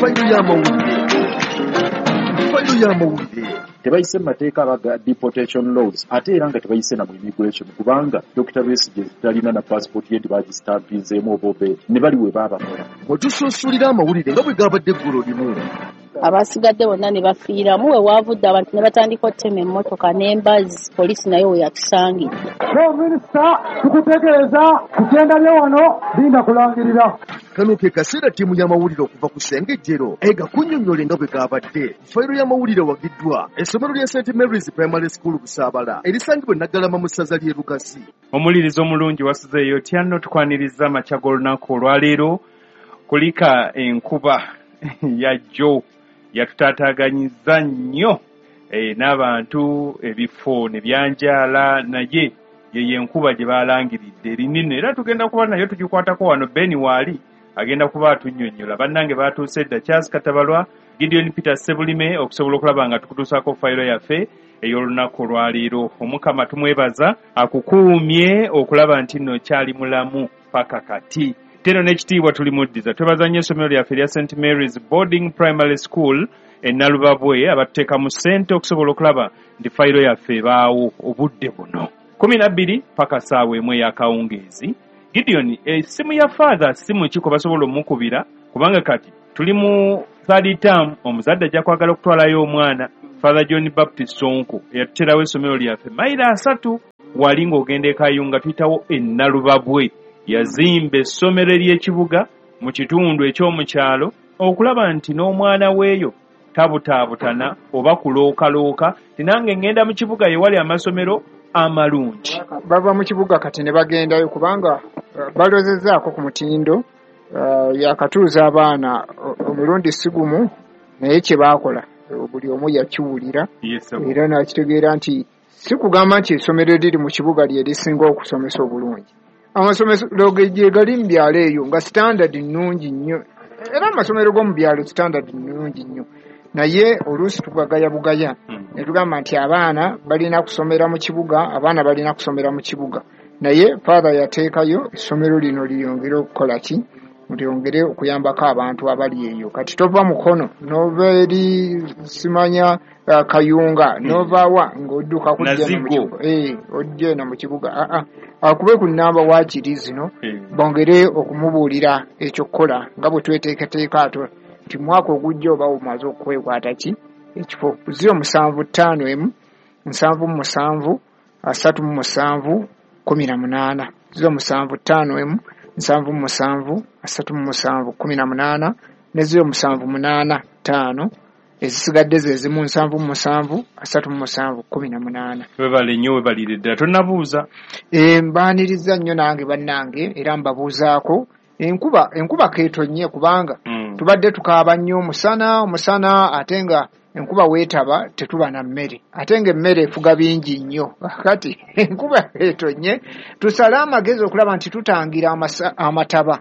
Fayiro y'amawulire. Fayiro y'amawulire. Tebayise mu mateeka abaga deportation laws, ate era nga tebayise na mu immigration, kubanga Dr. Besigye talina na passport ye, tebagisitampizeemu oba obeedi ne bali we baabakola. Wetusunsulira amawulire nga bwe gabadde eggulo limu. Abasigadde bonna ne bafiiramu. We waavudde abantu ne batandika okutema emmotoka n'embazzi, poliisi nayo we yatusangidde. Minisita, tukutegeeza kugenda lye wano linda kulangirira. Kano ke kaseera ttiimu y'amawulire okuva ku Ssengejjero egakunnyonnyole nga bwe gabadde. Fayiro y'amawulire wagiddwa essomero lya St Mary's Primary School Busaabala erisangibwa e Naggalama mu ssaza ly'e Lugazi. Omulirizo omulungi, wasuzeeyo otya nno? Tukwaniriza amakya g'olunaku olwaleero. Kulika enkuba yajjo yatutaataaganyizza nnyo n'abantu, ebifo ne byanjaala, naye yeyo enkuba gye baalangiridde erinene, era tugenda kuba nayo tugikwatako wano. Ben waali agenda kuba atunnyonnyola. Bannange baatuuse dda, Charles Katabalwa, Gideon Peter Sebulime, okusobola okulaba nga tukutuusaako fayiro yaffe ey'olunaku olwaleero. Omukama tumwebaza akukuumye okulaba nti nno kyali mulamu paka kati. Teno n'ekitiibwa tulimuddiza. Twebaza nnyo essomero lyaffe erya St Mary's Boarding Primary School e Nalubabwe abatuteekamu ssente okusobola okulaba nti fayiro yaffe ebaawo obudde buno 12 paka ssaawa 1 ey'akawungeezi. Gideon, essimu ya Father simu ki kwe basobola omukubira? Kubanga kati tuli mu third term, omuzadde ajja kwagala okutwalayo omwana. Father John Baptist Sonko eyatuterawo essomero lyaffe mayiro 3 wali ng'ogenda e Kayunga, tuyitawo e Nalubabwe. Yazimba essomero ery'ekibuga mu kitundu eky'omukyalo okulaba nti n'omwana weeyo tabutaabutana oba kulookalooka ti nange ŋŋenda mu kibuga yewali amasomero amalungi. Bava mu kibuga kati ne bagendayo kubanga balozezzaako ku mutindo. Yakatuuza abaana omulundi si gumu, naye kye baakola buli omu yakiwulira era nakitegeera nti si kugamba nti essomero eriri mu kibuga lye lisinga okusomesa obulungi. Amasomero gye gali mu byalo eyo nga standard nnungi nnyo, era amasomero g'omu byalo standard nnungi nnyo, naye oluusi tugagaya bugaya ne tugamba nti abaana balina kusomera mu kibuga, abaana balina kusomera mu kibuga. Naye Father yateekayo essomero lino liyongere okukola ki? Lyongere okuyambako abantu abali eyo. Kati tova Mukono n'ova eri simanya Kayunga n'ovaawa ng'odduka kujja mu kibuga, ojja eno mu kibuga. Aa, akube ku nnamba waakiri zino bongere okumubuulira ekyokukola nga bwe tweteekateeka ato nti mwaka ogujja oba omaze okwekwata ki ekifo. 0751 77 37 18, 0751 77 37 18 ne 0785 ezisigadde ze zimu 77 37 18. Webale nnyo, webalire ddala. Tonnabuuza? Mbaaniriza nnyo nange bannange, era mbabuuzaako. Enkuba keetonnye kubanga tubadde tukaaba nnyo omusana, omusana, ate nga enkuba weetaba tetuba na mmere, ate nga emmere efuga bingi nnyo. Kati enkuba etonye, tusale amagezi okulaba nti tutangira amataba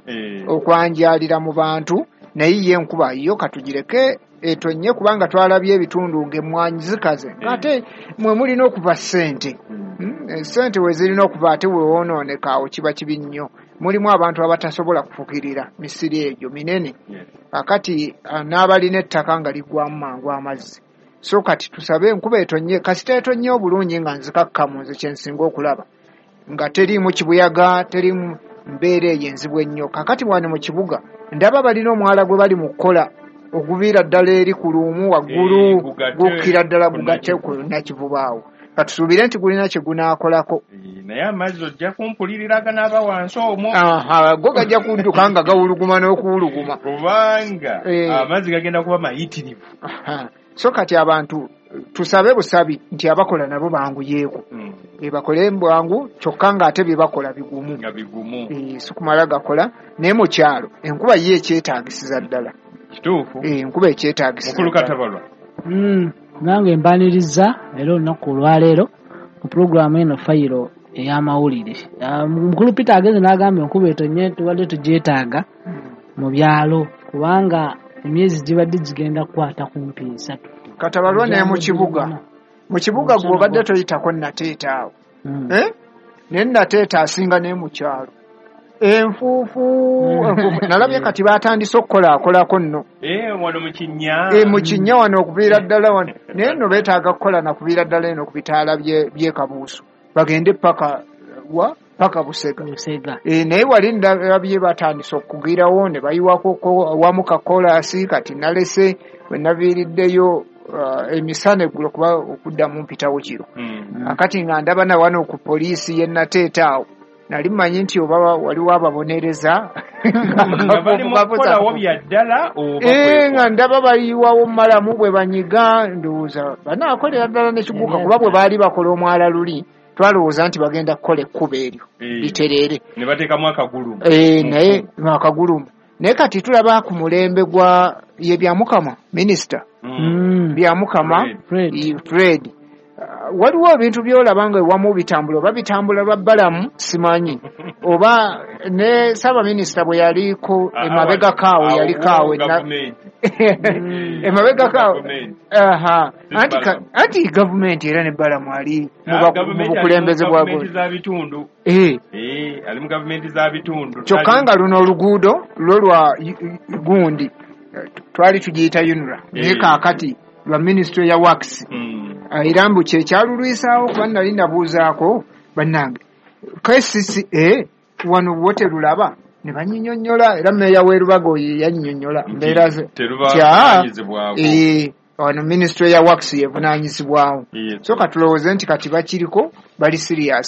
okwanjalira mu bantu. Naye ye enkuba yo katugireke etonye, kubanga twalabye ebitundu ng'emmwanyi zikaze, ate mwe mulina okuva ssente. Ssente we zirina okuva, ate wewonooneka awo kiba kibi nnyo. Mulimu abantu abatasobola kufukirira misiri egyo minene, akati n'abalina ettaka nga liggwamu mangu amazzi. So kati tusabe enkuba etonye. Kasita etonye obulungi nga nzikakkamu, nze kyensinga okulaba nga teriimu kibuyaga, teriimu mbeera eyo enzibu ennyo. Kakati wano mu kibuga ndaba balina omwala gwe bali mu kukola oguviira ddala eri ku luumu waggulu, gukkira ddala gugatte ku Nakivubaawo. Katusuubire nti gulina kye gunaakolako. Naye amazzi ojja kumpulirira aganaaba wansi omwo. Go gajja kudduka nga gawuluguma n'okuwuluguma. Kubanga amazzi gagenda kuba mayitirivu. So kati abantu tusabe busabi nti abakola nabo banguyeeko, bakole bwangu, kyokka ng'ate bye bakola bigumu. Nga bigumu. Si kumala gakola. Naye mu kyalo enkuba ye ekyetaagisiza ddala. Kituufu. Enkuba ekyetaagisiza. Mukulu Katabalwa. Nange mbaniriza era olunaku olwaleero mu pulogulaamu eno Fayiro ey'amawulire. Mukulu Peter agenze n'agamba enkuba etonye, tubadde tugyetaaga mu byalo kubanga emyezi gibadde gigenda kukwata kumpi 3. Katabalwa, naye mu kibuga gwe obadde toyitako Nateeta awo, naye Nateeta asinga naye mu kyalo. Enfuufu, enfuufu. Nalabye kati batandise okukolaakolako nno. Wano mu kinnya. Mu kinnya wano okuviira ddala wano, naye nno beetaaga kukola nakuviira ddala eno ku bitaala by'e Kabuusu, bagende paka wa, paka Busega. Busega. Naye wali ndabye batandise okugirawo ne bayiwako wamu kakolaasi. Kati nalese we naviiriddeyo emisana eggulo, kuba okuddamu mpitawo kiro. Akati nga ndaba na wano ku poliisi yennateeta awo, nali mmanyi nti oba waliwo ababonereza. Nga bali mu kukolawo bya ddala oba Nga ndaba bayiwawo malamu bwe banyiga, ndowooza banaakolera ddala nekiguka, kuba bwe baali bakola omwala luli twalowooza nti bagenda kukola ekkubo eryo litereere. Ne bateekamu akagulu. Naye akagulumu. Naye kati tulaba ku mulembe gwa ye Byamukama, minisita Byamukama. Fred. Fred. Fred. Waliwo ebintu byolaba nga ewamu bitambula, oba bitambula lwa Balamu simanyi, oba ne ssaabaminisita bwe yaliko emabegakaawo yalikaawo emabegakaawo. Aha, anti anti gavumenti era ne Balamu ali mu bukulembeze bwa Gavumenti za bitundu. Ali mu gavumenti za bitundu. Kyokka nga luno oluguudo lwo lwa gundi, twali tugiyita UNRA, naye kaakati lwa ministry ya works. Era mbu kyekyalulwisaawo, kuba nali nabuuzaako bannange KCCA wano wo terulaba, ne banyinyonnyola, era meeya w'e Lubaga oyo yannyonnyola mbeera ze. Terubavunaanyizibwako. Wano ministry ya works yevunaanyizibwawo. Yes. So katulowooze nti kati bakiriko bali serious.